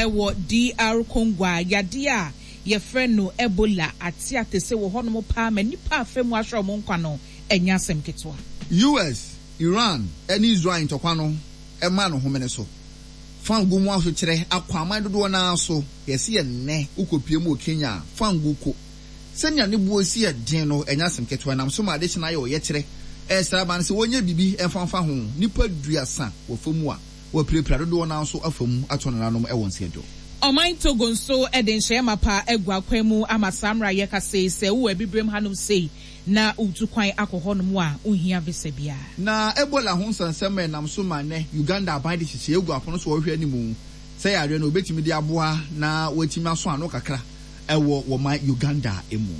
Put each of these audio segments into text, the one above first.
wɔ DR Congo a yadeɛ a yɛfrɛ no Ebola ate atese wɔ hɔnom paa ma nnipa afa mu ahwere wɔn nkwa no nyɛ asɛm ketewa. US, Iran ne Israel ntɔkwa no ma no homene so. Fango mu ahokyerɛ akɔ aman dodoɔ no ara so. Yɛse yɛ nnɛ wokɔpue mu wɔ Kenya a, fango ko. Sɛnea ne boɔ si yɛ den no, ɛnyɛ asɛm ketewa. Ɛnam so ma adehye no ayɛ ɔyɛkyerɛ. Ɛresrɛ aban no sɛ wɔnyɛ biribi mfa mfa ho. Nnipa duasa wɔ fa mu a wɔapirapira, dodoɔ no ara nso afa mu ato nananom wɔ nseɛdo. Ɔman Togo nso de nhyɛeɛ mapa agu akwan mu ama saa mmerɛ a yɛrekasa yi, sɛ wowɔ Abibirem hanom sei na woretu kwan akɔ hɔnom a, wonhia visa biara. Na Ebola ho nsɛnsɛm a ɛnam so ma nnɛ Uganda aban de nhyehyɛe agu apono so a wɔhwɛ anim sɛ yareɛ no wɔbɛtumi de aboa na wɔatumi asɔ ano kakra wɔ wɔ man Uganda mu.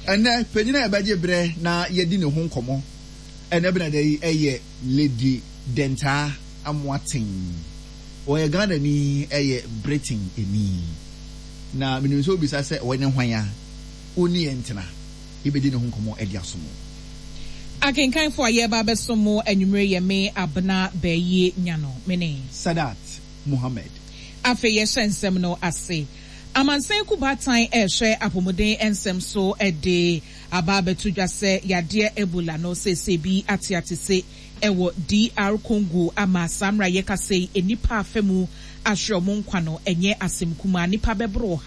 Ɛnnɛ, panyin a yɛbɛgye berɛ na yɛadi ne ho nkɔmmɔ ɛnnɛ benada yi yɛ Lady Dentaa Amoateng. Ɔyɛ Ghanani yɛ Britainni. Na menim sɛ wobisa sɛ ɔyɛ ne hwan a, wo ne yɛn ntena, yɛbɛdi ne ho nkɔmmɔ de asom wo. Akenkanfo a yɛreba abɛsom mo anwummere yɛ me Abena Bayie Nyano, me ne. Sadat Mohammed. Afei yɛhyɛ nsɛm no ase. Amansan Kubaatan rehwɛ apɔmuden nsɛm so de aba abɛto dwa sɛ yadeɛ Ebola no seesei bi ateatese wɔ DR Congo ama saa mmerɛ a yɛkasa yi nnipa afa mu ahwere wɔn nkwa no ɛnyɛ asɛm kumaa, nnipa bɛboro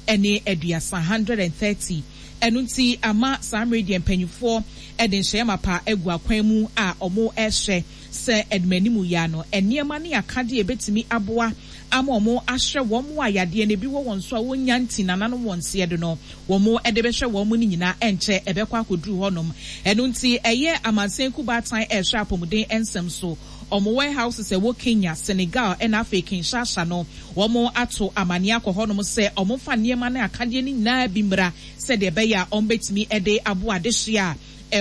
130, 130. Ɛno nti ama saa mmerɛ yi deɛ mpanyinfoɔ de nhyɛeɛ mapa agu akwan mu a wɔrehwɛ sɛ animanimu yi ara no nneɛma ne akadeɛ a ɛbɛtumi aboa ama wɔahwɛ wɔn a yadeɛ no bi wɔ wɔn so a wɔnnya nti nananom wɔn seɛ do no wɔde bɛhwɛ wɔn no nyinaa ɛnkyɛ ɛbɛkɔ akɔduru hɔnom. Ɛno nti ɛyɛ amansan kubaatan ɛrehwɛ apɔmuden nsɛm so. Wɔn warehouses a ɛwɔ Kenya, Senegal ɛna afei Kinshasa no wɔn ato amaneɛ akɔ hɔnom sɛ wɔmfa nneɛma ne akadeɛ no nyinaa bi mmra sɛdeɛ ɛbɛyɛ a wɔbɛtumi de aboa adehyeɛ a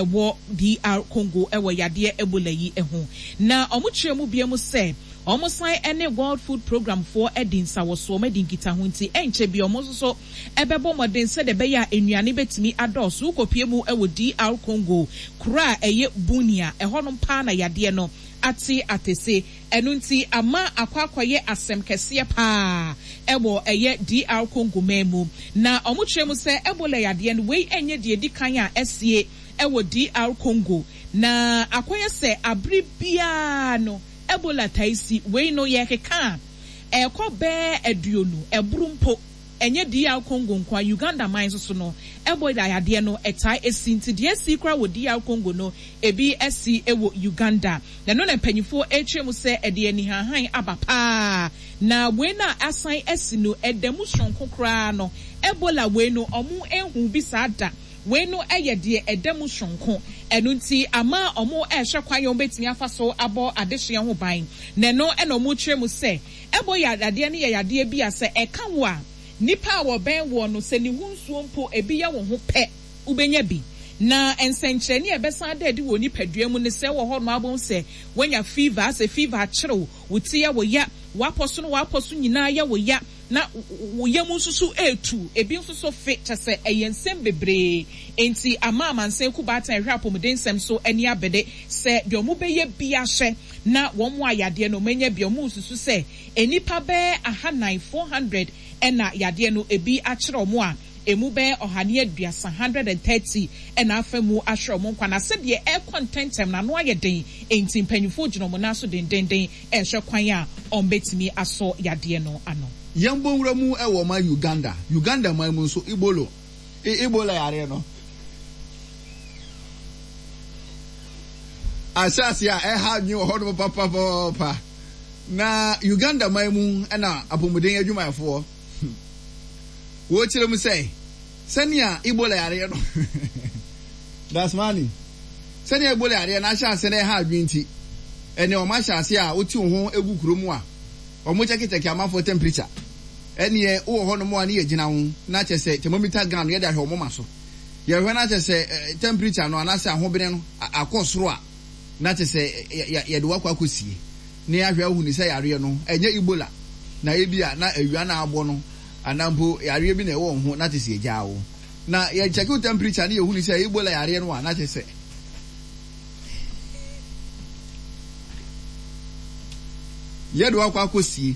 ɛwɔ DR Congo wɔ yadeɛ Ebola yi ho. Na wɔkyerɛ mu biom sɛ wɔsan ne World Food Programme foɔ adi nsawɔsoɔ, wɔadi nkitaho nti ɛnkyɛ biara wɔn nso so bɛbɔ mmɔden sɛdeɛ ɛbɛyɛ a nnuane bɛtumi adɔɔso. Wokɔpue mu wɔ DR Congo kuro a ɛyɛ Bunia, ɛhɔnom paa na yadeɛ no ate atese. Ɛno nti ama akɔ akɔyɛ asɛm kɛseɛ paa wɔ ɛyɛ DR Congo man mu. Na wɔkyerɛ mu sɛ Ebola yadeɛ no wei nyɛ deɛ ɛdi kan a asie wɔ DR Congo. Na akɔyɛ sɛ abere biara no Ebola taa si. Wei no yɛrekeka a ɛrekɔ bɛɛ aduonu, ɛboro mpo. Ɛnyɛ DR Congo nko ara, Uganda man nso so no, Ebola yadeɛ no taa si. Nti deɛ asi koraa wɔ DR Congo no, ebi asi wɔ Uganda. Na ɛno na mpanyinfoɔ rekyerɛ mu sɛ ɛde anihanhan aba paa. Na wei no a asan asi no, ɛda mu soronko koraa no, Ebola wei no, wɔnhuu bi saa da. Wei no yɛ deɛ ɛda mu soronko. Ɛno nti ama wɔrehwɛ kwan a wɔbɛtumi afa so abɔ adehyeɛ ho ban. Na ɛno na wɔrekyerɛ mu sɛ, Ɛbɔ yadeɛ no yɛ yadeɛ bi a sɛ ɛka wo a, nnipa a wɔbɛn woɔ no, sɛ ne ho nsuo mpo ebi yɛ wo ho pɛ, wobɛnya bi. Na nsɛnkyerɛnne a ɛbɛsan ada adi wɔ wo nipadua mu ne sɛ wɔ hɔ nom ara wobɛhu sɛ woanya fever, asɛ fever akyere wo, wo ti yɛ wo ya, w'apɔ so ne w'apɔ so nyinaa yɛ wo ya, na wo yam nso so retu, ebi nso so fe, kyerɛ sɛ ɛyɛ nsɛm bebree. Enti ama amansan kubaatan a ɛhwɛ apɔmuden nsɛm so ani abere sɛ deɛ wɔbɛyɛ biara hyɛ na wɔn a yadeɛ no wɔanya bi a wɔresusu sɛ nnipa bɛyɛ ahanan, 400, na yadeɛ no ebi akyere wɔn a emu bɛyɛ 130, 130, na afa mu ahwere wɔn nkwa. Na sɛdeɛ ɛrekɔ ntɛmntɛm no ano ayɛ den, enti mpanimfoɔ gyina wɔn nan so dendeenden rehwɛ kwan a wɔbɛtumi asɔ yadeɛ no ano. Yɛn bɔ nwura mu wɔ ɔman Uganda. Uganda man mu nso Ibolo, Ebola yareɛ no ahyɛ aseɛ a ɛha adwene wɔ hɔnom papapapa. Na Uganda man mu na apɔmuden adwumayɛfoɔ wɔkyerɛ mu sɛ sɛnea Ebola yareɛ no Dasmani sɛnea Ebola yareɛ no ahyɛ aseɛ na ɛha adwene nti ɛnɛ wɔn ahyɛ aseɛ a wote wo ho gu kuro mu a wɔn kyɛkekyɛke amanfoɔ temperature. Ɛneɛ wowɔ hɔ nom a ne yɛgyina ho na kyerɛ sɛ thermometer gun no yɛde ahwɛ wo moma so. Yɛhwɛ na kyerɛ sɛ temperature no anaasɛ ahobene no akɔ soro a na kyerɛ sɛ yɛde wo akɔ akɔsie na yɛahwɛ ahunu sɛ yareɛ no ɛnyɛ Ebola na ebia na awia na abɔ no anaa mpo yareɛ bi na ɛwɔ wo ho na kyerɛ sɛ yɛgyaa wo. Na yɛkyɛke wo temperature na yɛhunu sɛ Ebola yareɛ no a na kyerɛ sɛ yɛde wo akɔ akɔsie.